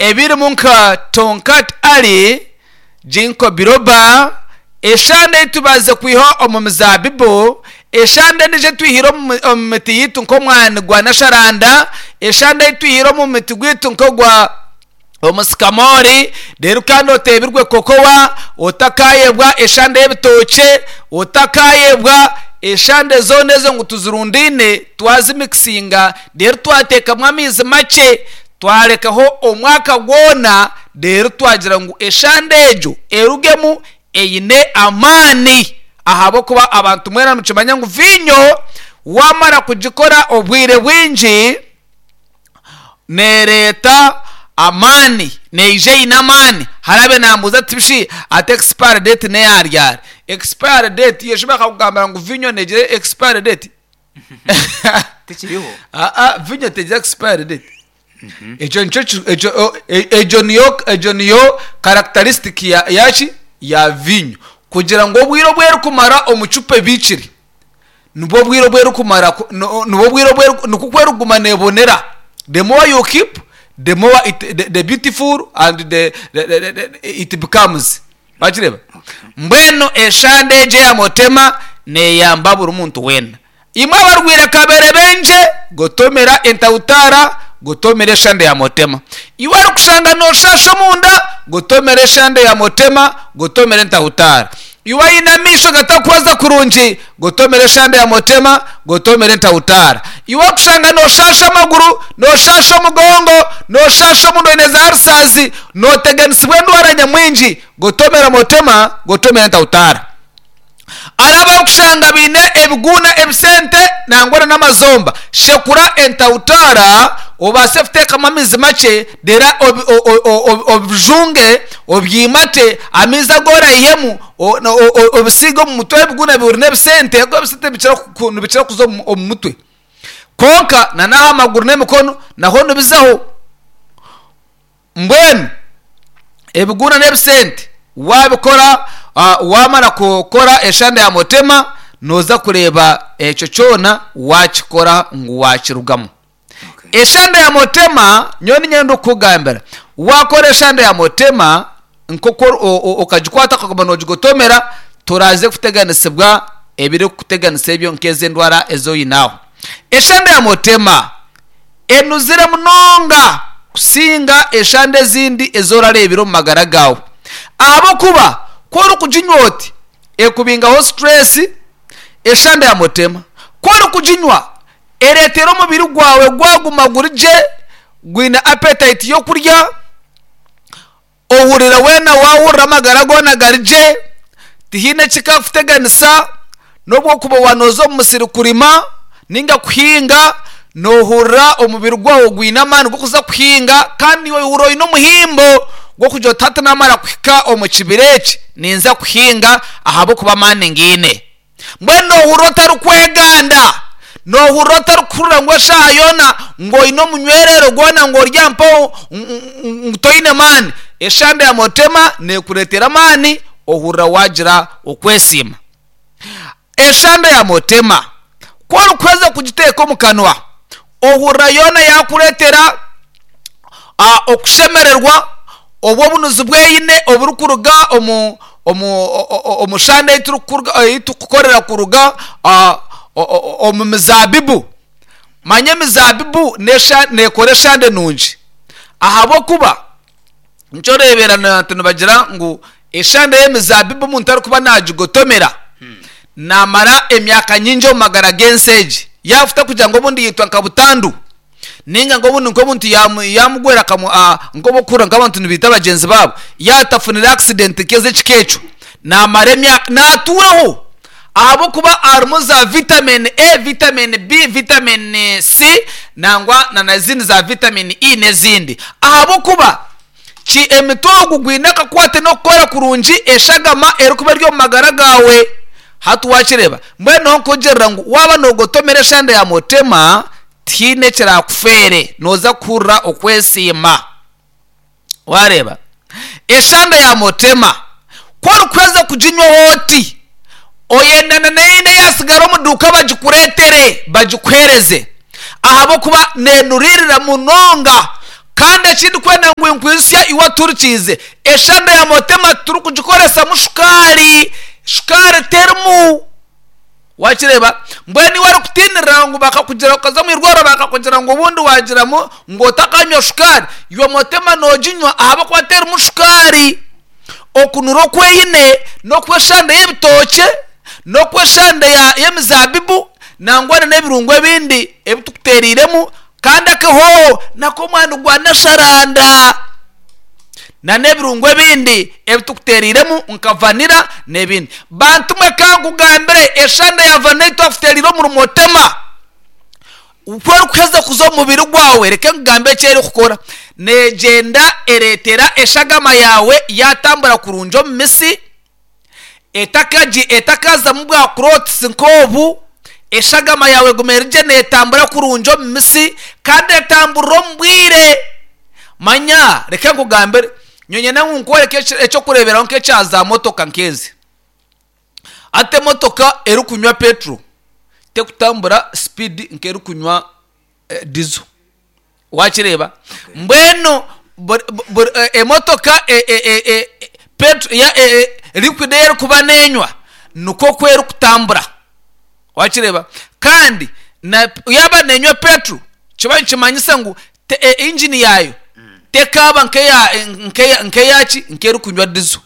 Ebirimu nka Tongkat Ali, Ginkgo biloba, eshande ei tubaasize kwiha omu mizaabibu, eshande endiijo ei twihire omu miti yaitu nk'omwani gwa nasharanda, eshande ei twihire omu muti gwaitu nk'ogwa omusikamoori, reero kandi oteebirwe kokowa, otakaayebwa eshande y'ebitookye, otakaayebwa eshande zoona ezo ngu tuzirundaine twazimikisinga reero twateekamu amaizi makye. Twarekaho omwaka gwona reero twagira ngu eshande egyo erugemu eine amaani ahabw'okuba abantu mwena nimukimanya ngu viinyo waamara kugikora obwire bwingi neereeta amaani, neija eine amaani. Hariho abaire nambuuza ati shi ati expiry date n'eya ryari? Expiry date yo shi bakakugambira ngu viinyo neegira expiry date? Tikiriho. Aa vinyo tegira expiry date. Ekyo nikyo ki- ekyo o- e- egyo niyo egyo niyo characteristic ya yaki ya vinyo. Kugira ngu obwire obu erikumara omu cupa ebiikire, nibwo obwire obu erikumara ku no nibwo obwire obu eri nikwo ku erikuguma neebonera. The more you keep, the more it the the beautiful and the the the the it becomes. Wakireeba? Mbwenu eshande egyo eya Mutema neeyamba buri muntu weena. Imwe abarwaire kaberebengye, gotomera entautaara, gotomera eshande ya Mutema. Iwe orikushanga nooshaasha omunda, gotomera eshande ya Mutema, gotomera entautaara. Iwe oine amaisho gatakuhweza kurungi, Gotomera eshande ya Mutema, gotomera entautaara. Iwe orikushanga nooshaasha amaguru, nooshaasha omugongo, nooshaasha omunda oine za arisaazi, nooteganisibwa endwara nyamwingi, gotomera Mutema, gotomera entautaara. Hariho abarikushanga baine ebiguuna, ebisente nangwa na n'amazomba, shekura entautaara obaase kuteekamu amaizi makye reero obijunge, obyimate, amaizi agu oraihemu Obisiige omu mutwe ebiguna biri n'ebisente ahabw'okuba ebisente nibikira kuza omu mutwe. Kwonka na n'aha maguru n'emikono naho nibizaho. Mbwenu ebiguna n'ebisente waabikora waamara kukora eshande ya mutema nooza kureeba ekyo kyona waakikora ngu waakirugamu. Eshande ya Mutema, nyowe niinyenda kukugambira, waakora eshande ya Mutema nk'oku okagikwata okaguma noogigotomera, toraaze kuteganisibwa ebirikukuteganisa ebyo nk'ezo endwara ezi oine aho. Eshande ya Mutema enuzire munonga kusinga eshande ezindi ezi orareebire omu magara gaawe ahabw'okuba ku orikuginywa oti, ekubingaho situreesi. Eshande ya Mutema ku orikuginywa Ereetera omubiri gwawe gwaguma guri gye, gwine appetite y'okurya, ohurira weena waahurira amagara goona gari gye, tihaine ekikakuteganisa, n'obu okuba waaba nooza omu musiri kurima nainga kuhinga, noohurira omubiri gwawe gwine amaani g'okuza kuhinga kandi iwe ohurira oine omuhimbo gw'okugira oti hati naamara kuhika omu kibira eki, ninza kuhinga ahabw'okuba amaani ngaine. Mbwenu noohurira otarikweganda? Noohurira otarikuhurira ngu eshaaha yoona ngu oine omunywererero gwona ngu ori aha mpaho ngu toine maani? Eshande ya Mutema neekureetera amaani ohurira waagira okwesiima. Eshande ya Mutema ku orikuheza kugiteeka omu kanwa, ohurira yoona yaakureetera okushemererwa obu obunuzi bweyine oburikuruga omu omu omu shande ei turikukorera kuruga omu mizaabibu. Manya emizaabibu neekora eshande nungi ahabw'okuba nikyo oreebera abantu nibagira ngu eshande y'emizaabibu omuntu arikuba naagigotomera naamara emyaka nyingi omu magara g'ensi egi. Yaafuta kugira ngu obundi yaitwa nka butandu. Nainga ngu obundi nk'omuntu yaamugwera akamu nk'obu orikuhurira nk'abantu nibaita bagyenzi baabo, yaaba atafunire accident nk'ez'ekika ekyo, naamara emyaka, naatuuraho ahabw'okuba harimu za vitamin A, vitamin B, vitamin C nangwa na n'ezindi za vitamin E n'ezindi. Ahabw'okuba ki emiti ogu gwine akakwate n'okukora kurungi eshagama erikuba eri omu magara gaawe. Hati waakireeba? Mbwenu niho nkugirira ngu waaba noogotomera eshande ya Mutema, Tihaine ekiraakufeere, nooza kuhurira okwesiima. Waareeba? Eshande ya Mutema, ku orikuheza kuginywaho oti, oyenda na n'eyindi eyaatsigara omu duuka bagikureetere, bagikuheereze, ahabw'okuba neenuriirira munonga. Kandi eki ndikwenda ngu nkwijutsye iwe otuhurikiize, eshanda ya Motema titurikugikoresamu shukaari. Shukaari terimu. Wakireeba? Mbwenu iwe orikutiinirira ngu bakakugira okaza omu irwariro bakakugira ngu obundi waagiramu ngu otakanywa shukaari, iwe Motema nooginywa ahabw'okuba terimu shukaari. Okunura oku eine n'okw'eshanda y'ebitookye, n'okw'eshanda y'emizaabibu, nangwa n'ebirungo ebindi ebi tukuteereiremu, kandi akahooho n'ak'omwani gwa nasharanda, n'ebirungo ebindi ebi tukuteereiremu nka vanira n'ebindi. Bantu mwe ka nkugambire, eshanda ya vanira ei twakuteereire omuri Motema, Ku erikuheza kuza omu mubiri gwawe, reka nkugambe eki erikukora. Neegyenda ereetera eshagama yaawe yaatambura kurungi omu mitsi, etakagi etakazamu bwa clots nk'obu, eshagama yaawe eguma eri gye neetambura kurungi omu mitsi kandi etamburira omu bwire. Manya reka nkugambire, nyowe nyenda ngu nkworeke eky'okureeberaho nk'ekya zaamotoka nk'ezi. Hati emotoka erikunywa petro tekutambura speed nkerikunywa diesel wakireeba mbwenu emotoka petro liquid ei erikuba nenywa nikwo oku erikutambura wakireeba kandi yaaba nenywa petro nikiba nikimanyisa ngu engine yaayo tekaaba nkeyaki nkerikunywa diesel.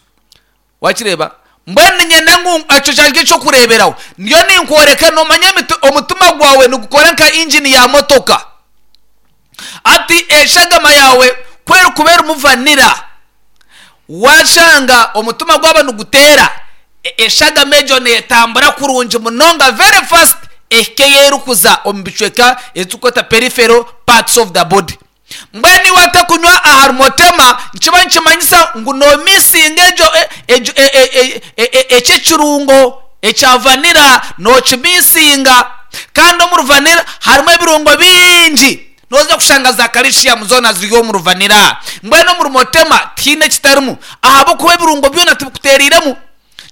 Wakireeba? Mbwenu niinyenda ngu ekyo kyangye eky'okureeberaho. Ndiyo ninkworeka, noomanya omutima gwawe nigukora nka ingini ya motoka. Hati eshagama yaawe ku erikuba erimu vanira, waashanga omutima gwaba niguteera, eshagama egyo neetambura kurungi munonga very fast ehike ei erikuza omu bicweka ebi turikweta peripheral parts of the body. Mbwenu iwe atakunywa ahari Motema nikiba nikimanyisa ngu nomisinga egyo egyo ekyo ekirungo ekya vanilla nokimisinga kandi omuri vanilla harimu ebirungo bingi noza kushanga za calcium zona ziri omuri vanilla mbwenu omuri Motema tihaine ekitarimu ahabw'okuba ebirungo byona tibikutereiremu.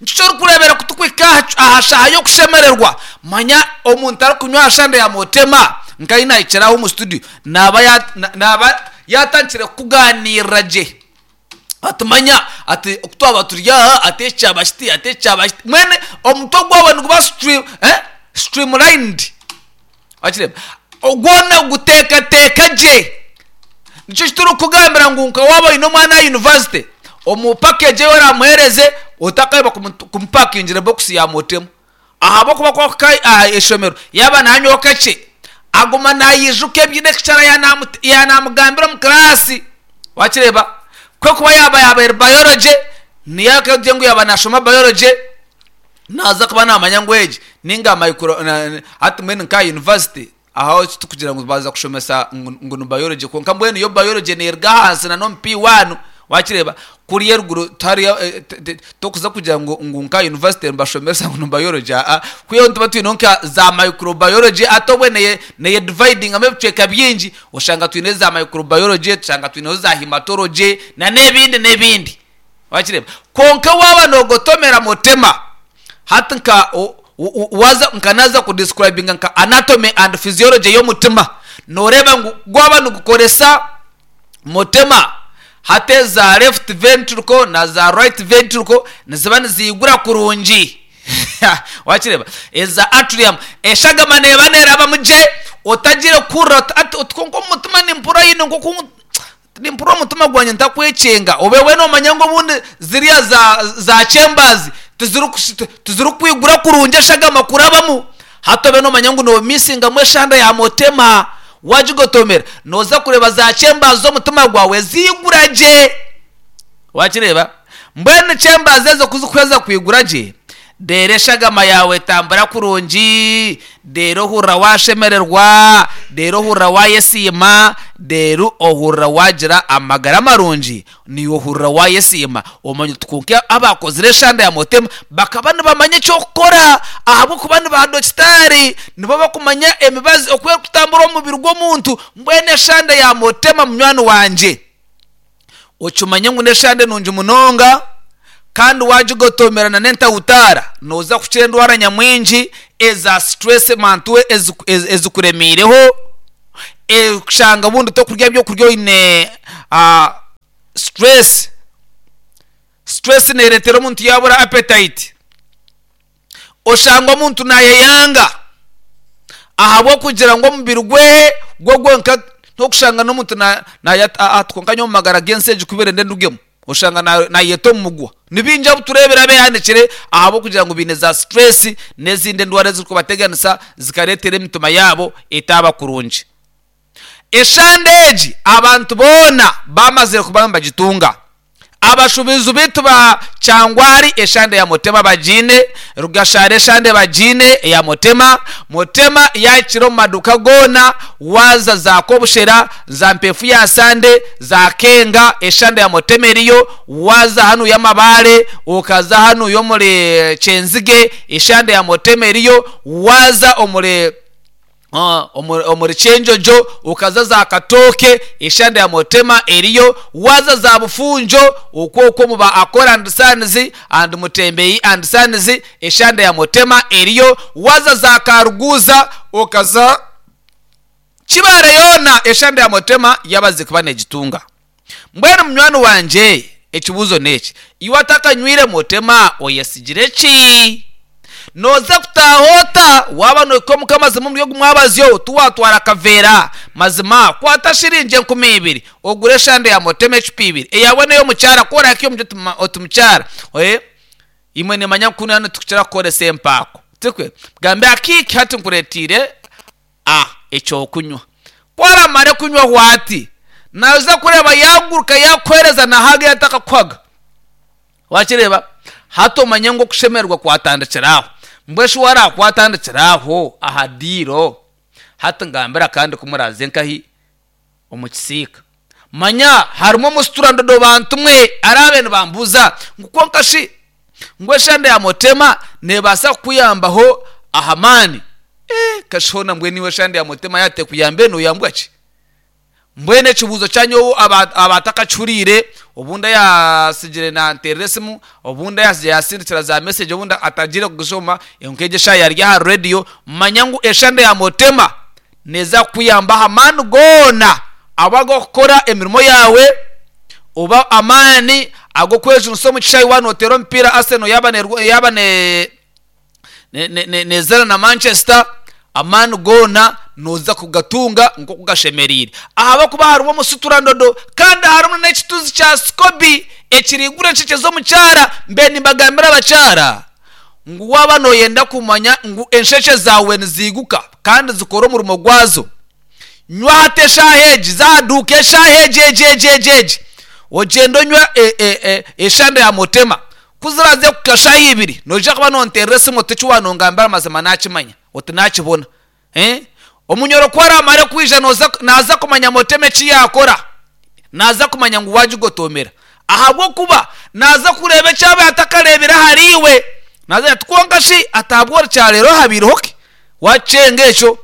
Nikyo orikureebera ku turikuhika aha shaaha y'okushemererwa, manya omuntu arikunywa aha shande ya Motema nka ahi naahikire aha omu studio, naaba naaba yaatandikire kukugaaniirira gye. Ati manya ati ku twaba turi aha ati eki kyaba kiti, ati eki kyaba kiti, mbwenu omutwe gwawe niguba streamlined. Wakireeba? Gwona guteekateeka gye. Nikyo eki turikukugambira ngu nka waaba oine omwana aha yunivasite, omu pakeegi ei oraamuheereze otakaayeba kumupakingira ebokisi ya motemu. Ahabw'okuba ku arikuhika aha ishomero yaaba naanywaho kakye, aguma naijuka ebi lekicara yaanamugambira omu kiraasi. Wakireeba? Kwekuba yaaba yaaba eri bayorogy, niyo arikugira ngu yaaba naashoma bayorogy, Naaza kuba naamanya ngu egi ninga micro hati mbwenu nka aha university aho titukugira ngu baaza kushomesa ngu ni biology kwonka mbwenu yo biology neeruga ahansi na n'omu P1 waakireeba kuriya eruguru tihariyo tokuza kugira ngu ngu nka aha university nibashomesa ngu ni biology aa kwihaho nituba twineho nka za microbiology hati obwe neye neyedividingamu ebicweka bingi oshanga twineho za microbiology tushanga twineho za hematology na n'ebindi n'ebindi. Wakireeba? Kwonka waaba noogotomera mutema, hati nka waaza nka naaza kudescribinga nka anatomy and physiology y'omutima, nooreeba ngu gwaba nigukoresa mutema, hati eza left ventricle na za right ventricle niziba niziigura kurungi. Wakireeba? Eza atrium, eshagama neeba neerabamu gye, otagiire kuhurira oti ati oti kwonka omu mutima nimpurira haine nk'oku Nimpurira omutima gwangye ntakwecenga. Obe weena omanya ngu obundi ziriya za za chambers tizirikwigura kurungi eshagama kurabamu. Hati obe nomanya ngu nomisingamu eshanda ya motema wagigotomera noza kureeba za chambers z'omutima gwawe ziigura gye. Wakireeba? Mbwenu chambers ezo kuzikuheza kwigura gye, Reero eshagama yaawe etambura kurungi, reero ohurira waashemererwa, reero ohurira waayesiima, reero ohurira waagira amagara marungi, naiwe ohurira waayesiima. Omanya oti kwonka abaakozire eshanda ya Motema bakaba nibamanya eky'okukora ahabw'okuba ni baadokitaari, nibo barikumanya emibazi oku erikutambura omu mubiri gw'omuntu. Mbwenu eshanda ya Motema munywani wangye. Okimanye ngu n'eshande nungi munonga kandi waagigotoomera na n'entahutaara nooza kukira endwara nyamwingi eza stress mantu ezikureemiireho. Kushanga obundi tokurya ebyokurya oine stress. Stress neereetera omuntu yaabura appetite. Oshanga omuntu naayeyanga ahabw'okugira ngu omubiri gwe gwo gwonka n'okushanga n'omuntu kwonka nyowe omu magara g'ensi egi ku birenda endugemu oshanga naayeta omu mugwa. Ni baingi abu tureebire abeehanikire ahabw'okugira ngu baine za stress n'ezindi endwara ezirikubateganisa zikareetera emitima yaabo etaaba kurungi. Eshande egi abantu boona baamazire kuba nibagitunga. Abashubizi baitu ba Kyangwari eshande ya Mutema bagiine, Rugashara eshande bagiine eya Mutema, Mutema yahikire omu maduuka goona, waaza za Kobushera, za Mpeefu ya Sande, za Kenga eshande ya Mutema eriyo, waaza hanuya Amabaare, okaza hanuya omuri Kyenzige eshande ya Mutema eriyo, waaza omuri. Omuri Kyenjojo okaza za Katooke eshande ya Mutema eriyo, waaza za Bufunjo okwo okwo omu ba Akora and Sons and Mutembeyi and Sons eshande ya Mutema eriyo, waaza za Karuguuza okaza Kibaare yoona eshande ya Mutema yabaze kuba negitunga. Mbwenu munywani wangye ekibuuzo n'eki, iwe atakanywire Mutema oyesigire ki? Nooza kutaaha ota waaba nohika omuka mazima omuri ogu mwabazyo tiwaatwara akaveera? Mazima kwata shiringi 2000 ogure eshande ya Mutema ecupa ibiri eyaawe n'ey'omukyara ku orahike omuri oti mukyara imwe nimanya ngu kunu hanu nitukira kukoresa empaako tikwe? Mugambe akiiki hati nkureeteire A Eky'okunywa. Ku aramare kunywaho ati, naija kureeba yaaguruka yaakuheereza na haga ei atakakuhaga. Waakireeba? Hati omanye ngu okushemererwa kwatandikira aho. Mbwenu shi waaraakwatandikira aho aha diiro? Hati ngambira kandi ku muraaze nkahi? Omu kisiika. Manya harimu omusitura-ndodo bantu mwe araabe nibambuuza ngu kwonka shi ngu eshande ya Mutema neebaasa kukuyambaho aha maani? Eeh kashi hoona mbwenu iwe eshande ya Mutema yaaba tekuyambire nooyambwa ki? Mbwenu ekibuuzo kya nyowe abatakakihuriire obundi ayaasigire naanteerera esimu, obundi ayaasigire yaasindikira za mesegi obundi atagiire kugishoma, nk'egi eshaaha yaarya aha reediyo, manya ngu eshande ya Mutema Neeza kukuyamba aha maani goona aba ag'okukora emirimo yaawe oba amaani ag'okwejunisa omu kishaayi waaba nooteera omupiira Arsenal yaaba yaaba neezaana na Manchester, amaani goona nooza kugatunga nk'oku gashemereire ahabw'okuba harimu omusuturandodo kandi harimu n'ekituzi kya SCOBY ekiriigura enshekye z'omukyara. Mbwenu nimbagambira abakyara. Ngu waaba nooyenda kumanya ngu enshekye zaawe niziiguka kandi zikora omurimo gwazo, nywa hati eshaaha egi, za aha duuka eshaaha egi egi egi egi egi, ogyende onywe eshande ya Mutema. Ku ziraaze kuhika shaaha ibiri, noija kuba noonteerera esimu oti eki waanongambira mazima naakimanya, oti naakibona. Omunyoro ku araamare kwija naaza kumanya Mutema eki yaakora. Naaza kumanya ngu waagigotoomera. Ahabw'okuba naaza kureeba eki abaire atakareebire ahariiwe. Naaza kugira ati, Kwonka shi ati ahabw'orukya reero habaireho ki? Waakyenga ekyo.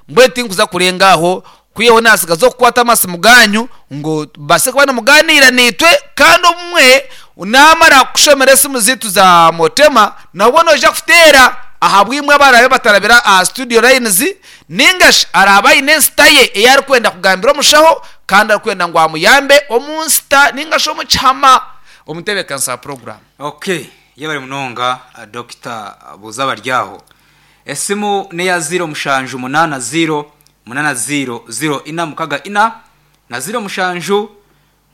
Mbwenu tinkuza kurenga aho, kwihaho naatsigaza okukwata amasimu gaanyu ngu mubaase kuba nimugaaniira naitwe. Kandi obumwe naamara kukushomera esimu zaitu za Motema, nabwo noija kuteera ahabw'imwe abaraabe batarabire aha studio lines Nainga shi araabe aine ensita ye ei arikwenda kugambira omushaho kandi arikwenda ngu amuyambe omu nsita nainga shi omu kihama. Omutebeekanisa wa puroguraamu. Ok yebare munonga Dokita buuza abaryaho. Esimu neya ziiro mushanju munaana ziiro munaana ziiro ziiro ina mukaga ina na ziiro mushanju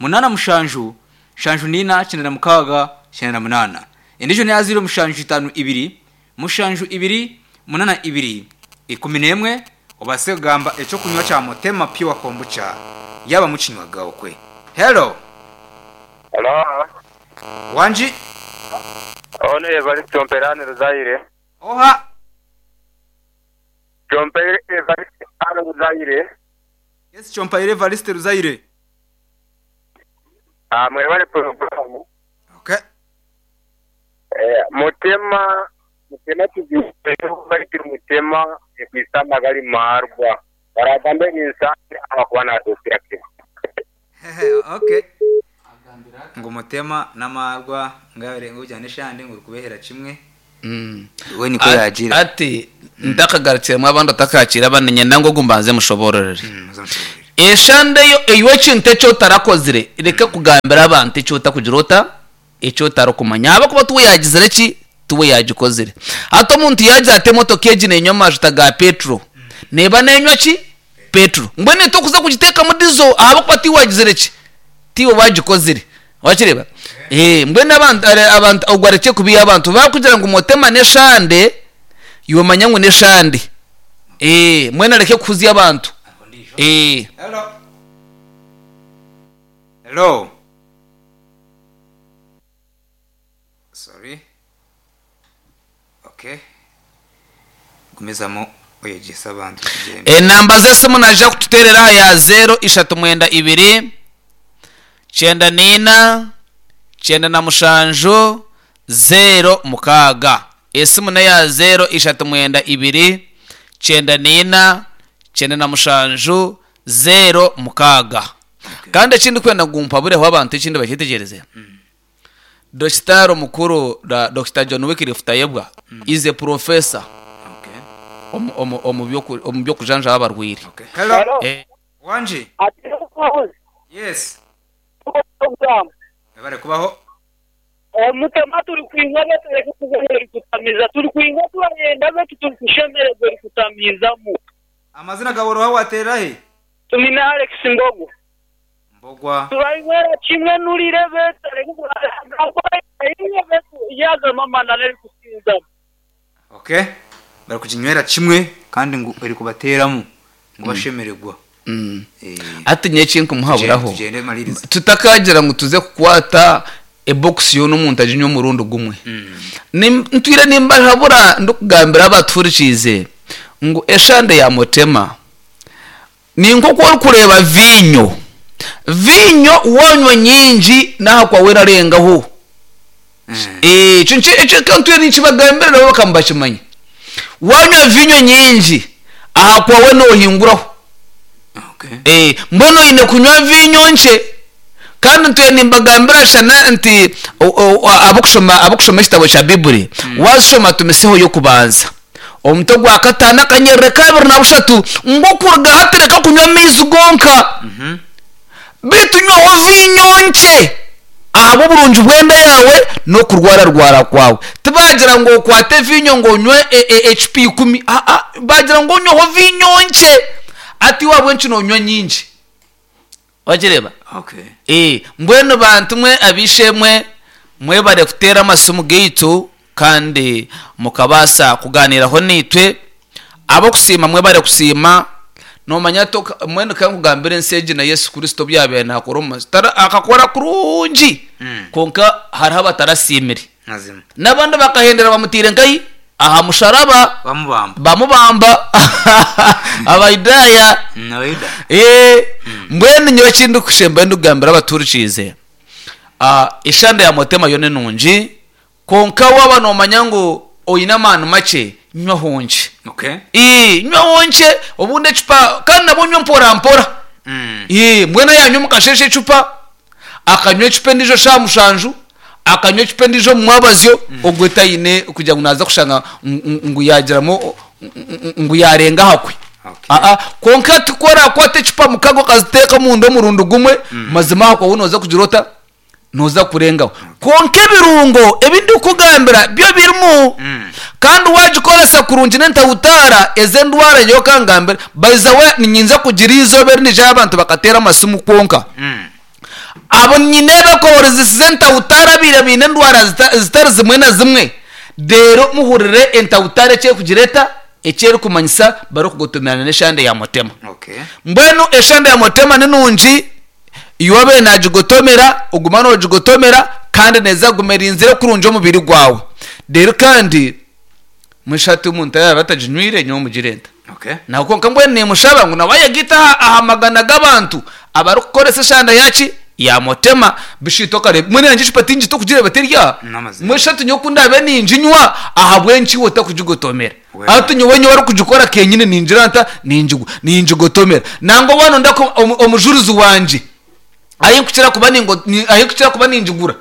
Munaana mushanju, nshanju n'ina, kyenda na mukaaga, kyenda na munaana. Endiijo n'eya ziiro mushanju itaano ibiri, mushanju ibiri, munaana ibiri, 11, obaase kugamba eky'okunywa kya Motema Pure Kombucha yaaba mukinywaga okwe. Hello! Hello. Wangi? Ono Evariste Omperani Ruzaire. Oha? Kyompaire Evariste Ruzaire. Yes, Kyompaire Evariste Ruzaire. Ah, mwebale puroguramu. Okay. Eh, Mutema Mutema tuziireho baitu Mutema ekwisa amagari marwa. Baragambe ninsande ahakuba nadukira kimwe. Okay. Ngu Mutema n'amaarwa ngu yaabaire ngu ogyana eshande ngu orikubehera kimwe. We nikwo yaagira. Ati ntakagarukiremu abandi otakakiire abandi niinyenda ngu ogu mbanze mushoboororere. Oze omushoboororere. Eshande yo iwe ekintu eki otarakozire reka kugambira abantu eki otakugira ota? Eki otarikumanya ahabw'okuba tiwe yaagizire ki? Tiwe yaagikozire. Hati omuntu yaagira ati emotoka egi neenywa amajuta ga peturo, neeba neenywa ki? Peturo. Mbwenu itwe okuza kugiteekamu dizo ahabw'okuba tiwe waagizire ki? Tiiwe waagikozire. Wakireeba? Ee, mbwenu abantu, abantu ogwo arekye kubiiha abantu. Baakugira ngu motema n'eshande, iwe manya ngu n'eshande. Ee, mbwenu areke kuhuzya abantu. Ee. Hello. Hello. Sorry. Okay. Gumizamu oyegyese abantu tugyende. Enamba z'esimu naija kututeerera aha ya zeero ishatu mwenda ibiri, kyenda naina, kyenda na mushanju, zeero mukaaga. Esimu n'eya zeero ishatu mwenda ibiri, kyenda naina, kyenda na mushanju, zeero mukaaga. Kandi eki ndikwenda ngu mpabureho abantu ekindi bakyetegyereze, Dokitaari omukuru Dokita John Wycliffe Tayebwa is a professor Okay. omu, omu, omu by'oku- omu by'okujanjaba abarwaire. Okay. Hello. Hello. Eh, Wangi. Ati n'obuhabuzi Yes. program. Webale kubaho. Omutema turi kwingwa betu reka kuba eri kutamiza turi kwingwa turayenda betu turi kushemererwa eri kutamizamu. Amazina gawe ori oha waterera hi? Tumine Alex Mbogwa. Mbogwa. Turainywera kimwe nurire betu areke kurayenda betu yazama amananu eri kusinzamu. Okay. Bari kuginywera kimwe kandi ngu eri kubateeramu ngu bashemererwa. Eh. Hati nyowe eki nkumuhaburaho Tugyende maliriza. tutakagira ngu tuze kukwata ebokisi yoona omuntu aginywe omurundi gumwe. Ntwire nimbahabura ndikugambira abatuhurikiize ngu eshande ya Mutema Ni nk'oku orikureeba viinyo. Viinyo waanywa nyingi n'aha kwawe erarengaho. Ekyo nikyo ekyo ntwire ninkibagambira nabo bakaba nibakimanya. Waanywa viinyo nyingi aha kwawe noohinguraho. Mbwenu oine kunywa viinyo nkye. Kandi ntwire nimbagambira shana nti abarikushoma abarikushoma ekitabo kya Baiburi, waazishoma tumiseho y'okubanza. Omutwe gwa kataano akanyerere kabiri na bushatu ngu okuruga hati reka kunywa amaizi gonka, beitu nywaho viinyo nkye ahabw'oburungi bw'enda yaawe n'okurwararwara kwawe. Tibaagira ngu okwate viinyo ngu onywe ecupa ikumi, aa, baagira ngu onyweho viinyo nkye. Hati iwe ahabw'enki noonywa nyingi? Wagireeba? Okay. Ee, mbwenu bantu mwe ab'eishe-emwe, mwebare kuteera amasimu gaitu kandi mukabaasa kugaaniiraho naitwe. Ab'okusiima mwebare kusiima. Noomanya toka, mbwenu ka nkugambire ensi egi na Yesu Kristo obu yaabaire naakora omu mazi, tara, akakora kurungi, kwonka hariho abatarasiimire. Mazima. N'abandi bakahendera bamutaire nkahi? Aha musharaba. Bamubamba. Bamubamba. Abayudaaya. Abayuda. Ee, mbwenu nyowe eki ndikushembayo ndikugambira abatuhurikiize, eshande ya Mutema yo ni nungi, kwonka waaba noomanya ngu oine amaani makye, nywaho nkye. Okay. Ii, nywaho nkye, obundi ecupa, kandi nabwo onywe mporampora. Ii, mbwenu yaanywa omu kasheeshe ecupa, akanywa ecupa endiijo shaaha mushanju, akanywa ecupa endiijo omu mwabazyo, ogwo taine kugira ngu naaza kushanga ngu yaagiramu ngu yaarenga aha kwe. Aa, kwonka ti ku oraakwata ecupa mukaga okaziteeka omunda omurundi gumwe, mazima aha kwawe nooza kugira ota? Nooza kurengaho. Kwonka ebirungo ebi ndikukugambira byo birimu, kandi waagikoresa kurungi n'entahutaara ez'endwara nyowe ka ngambire, by the way niinyinza kugira eizooba eri niijayo abantu bakateera amasimu kwonka. Abo nyine ebakohorizisize entahutaara abaire baine endwara zitari zimwe na zimwe, reero muhurire entahutaara eki erikugira eta, eki erikumanyisa barikugotomerana n'eshande ya Mutema. Mbwenu eshande ya Mutema ni nungi, iwe obaire naagigotomera, ogume noogigotomera kandi neeza kuguma erinzire kurungi omubiri gwawe. Reero kandi mbwenu hati omuntu yaaba ataginywire nyowe mugire nta? Nawe kwonka mbwenu nimushaba ngu nawe ayegaite aha magana g'abantu abarikukoresa eshanda yaki? Ya Mutema. Bishwitu okareeba mbwenu yangye ecupa tingita okugireeba teri aha. Mbwenu shi hati nyowe ku ndaabe ninginywa ahabw'enki iwe otakugigotomera? Hati nyowe nyowe orikugikora kenyine ningira nta? Ningigotomera. Nangwa waaba noyenda omujurizi wangye ahi nkukira kuba ningigura,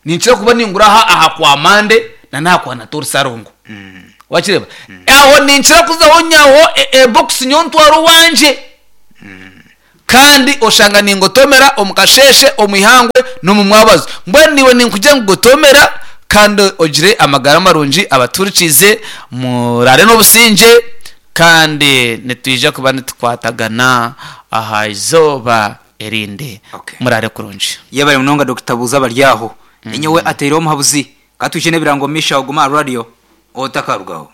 ninkira kuba ningura aha kwa Mande. Na n'aha kuhanata orusarongo. Wakireeba? Aho ninkira kuzaho nyihaho ebokisi nyowe ntware owangye. Kandi oshanga ningotomera omu kasheeshe, omu ihangwe n'omu mwabazo. Mbwenu naiwe ninkugira ngu gotomera kandi ogire amagara marungi abatuhurikiize muraare n'obusingye kandi nitwija kuba nitukwatagana aha izooba erindi. Okay. Muraare kurungi. Yebare munonga Dokita Buuza Baryaho. Ninyowe ateireho omuhabuzi. Ka twije n'ebirango omu maisho aho guma aha radio otakarugaho.